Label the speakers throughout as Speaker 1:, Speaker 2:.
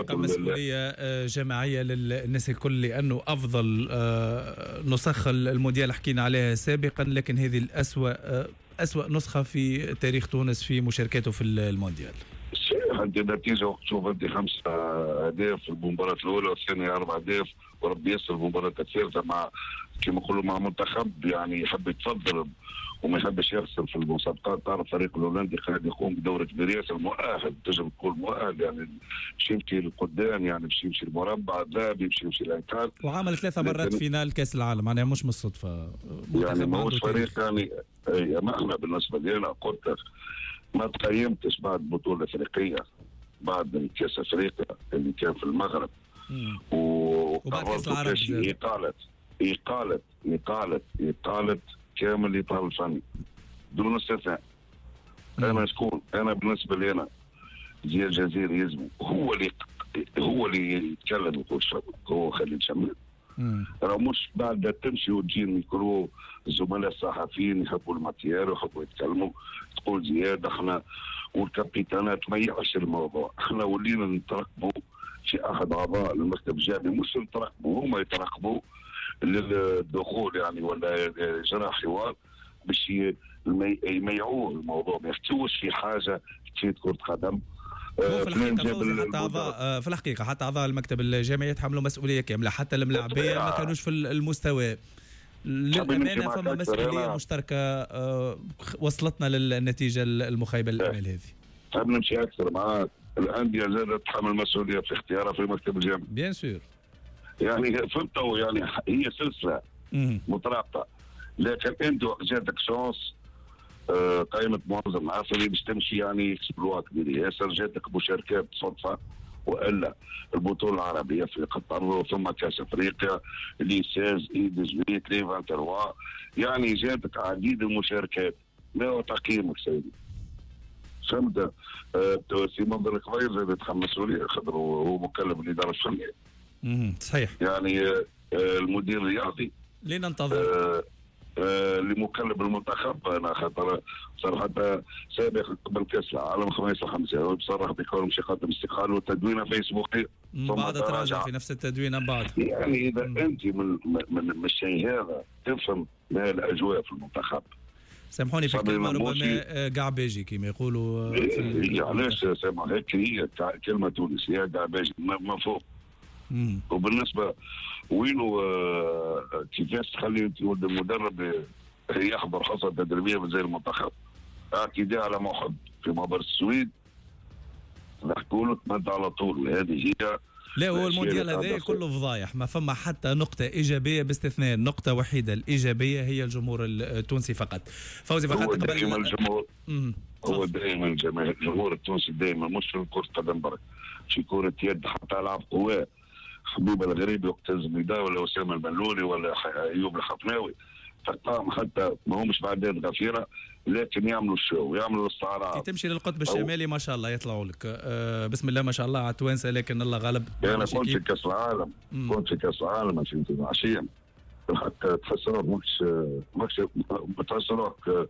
Speaker 1: الحقيقة مسؤولية جماعية للناس الكل، لانه افضل نسخ المونديال حكينا عليها سابقا، لكن هذه الاسوأ، اسوأ نسخه في تاريخ تونس في مشاركته في المونديال.
Speaker 2: صحيح، انت النتيجة وقت تشوف انت 5 اهداف في المباراة الاولى والثانية 4 اهداف، وربي يسر المباراة الثالثة مع كما نقولوا مع منتخب يعني يحب يتصدر وما يحبش يخسر في المسابقات. تعرف الفريق الهولندي قاعد يقوم بدور كبير ياسر، مؤهل، تنجم تقول مؤهل، يعني باش يمشي لقدام، يعني باش يمشي المربع الذهبي، باش يمشي لل quart.
Speaker 1: وعمل 3 مرات finale كاس العالم، معناها مش من الصدفه.
Speaker 2: يعني ماهوش فريق يعني. ما احنا بالنسبة لنا قلت لك ما تقيمتش بعد البطولة الافريقيه، بعد كاس افريقيا اللي كان في المغرب.
Speaker 1: وبعد كاس العرب.
Speaker 2: اقاله اقاله اقاله اقاله كامل الاطار الفني دون استثناء. انا شكون؟ انا بالنسبة لي انا زياد الجزيري يلزم هو اللي يتكلم، يقول هو خليل شمام. راه مش بعد تمشي وتجي الميكرو، الزملاء الصحفيين يحبوا ال matière ويحبوا يتكلموا، تقول زياد احنا والكابيتانات ما يعش الموضوع. احنا ولينا نترقبوا في احد اعضاء المكتب الجامعي، مش نترقبوا، هما يترقبوا للدخول يعني ولا اجراء حوار باش يميعوه الموضوع، ما يحكيوش في حاجة تفيد كره قدم.
Speaker 1: في الحقيقة حتى اعضاء في الحقيقة حتى اعضاء المكتب الجامعي يتحملوا مسؤولية كامله، حتى الملاعبيه ما كانوش في المستوى. للامانة فما مسؤولية مشتركة وصلتنا للنتيجة المخيبه للامال هذه.
Speaker 2: تحب نمشي اكثر معاك؟ الاندية زادت تحمل مسؤولية في اختيارها في المكتب الجامعي.
Speaker 1: bien sûr.
Speaker 2: يعني فهمت، يعني هي سلسلة مترابطه، لكن انت وقت جاتك chance قائمة معز الناصري باش تمشي، يعني exploit كبير ياسر، جاتك مشاركات صدفة والا البطولة العربية في قطر، ثم كاس افريقيا les 16، les 18، les 23، يعني جاتك عديد المشاركات. ما هو تقييمك سيدي؟ فهمت؟ سي منذر الكبير زاد يتحمل مسؤوليه، خاطر هو مكلف بالادارة الفنيه.
Speaker 1: صحيح.
Speaker 2: يعني المدير الرياضي.
Speaker 1: لننتظر.
Speaker 2: اللي مكلف بالمنتخب، انا خاطر صراحة سابق قبل كاس العالم 5-5 بصراحة بكون مش يقدم استقالة وتدوينه فيسبوكيه.
Speaker 1: بعد تراجع في نفس التدوينه بعد.
Speaker 2: يعني اذا انت من الشيء هذا تفهم ما الاجواء في المنتخب.
Speaker 1: سامحوني في الكلمه، ربما قعباجي كما يقولوا.
Speaker 2: في علاش سامع هيك؟ هي كلمة تونسيه، قعباجي ما فوق. وبالنسبة وينو كيفاش تخلي انت ولد المدرب يحضر حصة تدريبية زي المنتخب؟ اعتداء على محب في معبر السويد، نحكوا له تمد على طول، هذه هي.
Speaker 1: لا، هو المونديال هذا كله فضايح، ما فما حتى نقطة إيجابية باستثناء نقطة وحيدة الإيجابية هي الجمهور التونسي فقط. فوزي فقط.
Speaker 2: هو دائما الجمهور، هو دائما الجمهور التونسي دائما، مش في كرة قدم برك، في كرة يد، حتى ألعاب قوى، حبيب الغريبي وقت الزميدة ولا أسامة الملولي ولا أيوب الحفناوي، تلقاهم حتى ما همش بعدين غفيره، لكن يعملوا ال show، يعملوا الاستعراض.
Speaker 1: كي تمشي للقطب الشمالي ما شاء الله يطلعوا لك بسم الله ما شاء الله على التوانسه، لكن الله غالب.
Speaker 2: انا كنت في كاس العالم، كنت في كاس العالم 2022، الحق تحس روحك ماكش، تحس روحك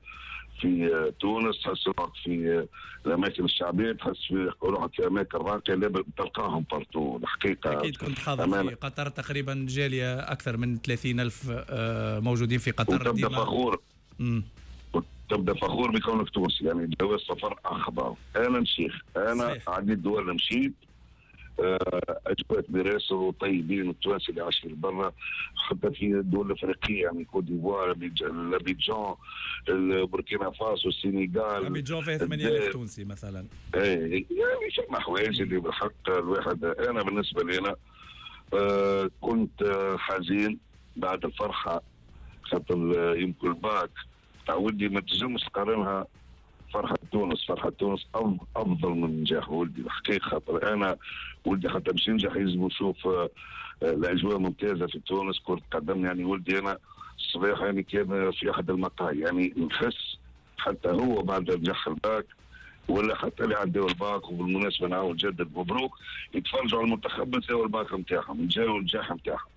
Speaker 2: في تونس، تحس روحك في الاماكن الشعبيه، تحس في روحك في اماكن راقيه، تلقاهم partout الحقيقه.
Speaker 1: اكيد كنت حاضر في قطر، تقريبا جالية اكثر من 30 الف موجودين في قطر.
Speaker 2: وتبدا فخور، تبدا فخور بكونك تونسي، يعني جواز سفر اخضر. انا نشيخ انا عديد دول مشيت، اجواء براسل وطيبين التوانسة اللي عايشين برا، حتى في الدول الافريقيه، يعني كوت ديفوار، الابيجان، بوركينا فاسو، السنغال.
Speaker 1: ابيجان فيها 8000 تونسي مثلا.
Speaker 2: ايه، يعني فما حوايج اللي بالحق الواحد، انا بالنسبة لي انا كنت حزين بعد الفرحه، خاطر يمكن الباك تاع ولدي ما تنجمش تقارنها فرحة تونس. فرحة تونس أفضل من نجاح ولدي الحقيقة، خاطر أنا ولدي حتى باش ينجح يلزم يشوف الأجواء ممتازة في تونس، كرة قدم. يعني ولدي أنا الصباح يعني كان في أحد المقاهي، يعني نحس حتى هو بعد نجح الباك ولا حتى اللي عدوا الباك، وبالمناسبة نعاود جدد مبروك، يتفرجوا على المنتخب نساو الباك نتاعهم، نساو النجاح نتاعهم.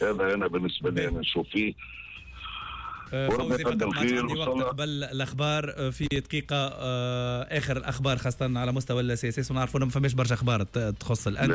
Speaker 2: هذا أنا بالنسبة لي أنا نشوف فيه.
Speaker 1: فوزي، فقط ما عندي وقت قبل الاخبار في دقيقه، اخر الاخبار خاصة على مستوى ال CSS، ونعرفوا ما فماش برشا اخبار تخص الانديه.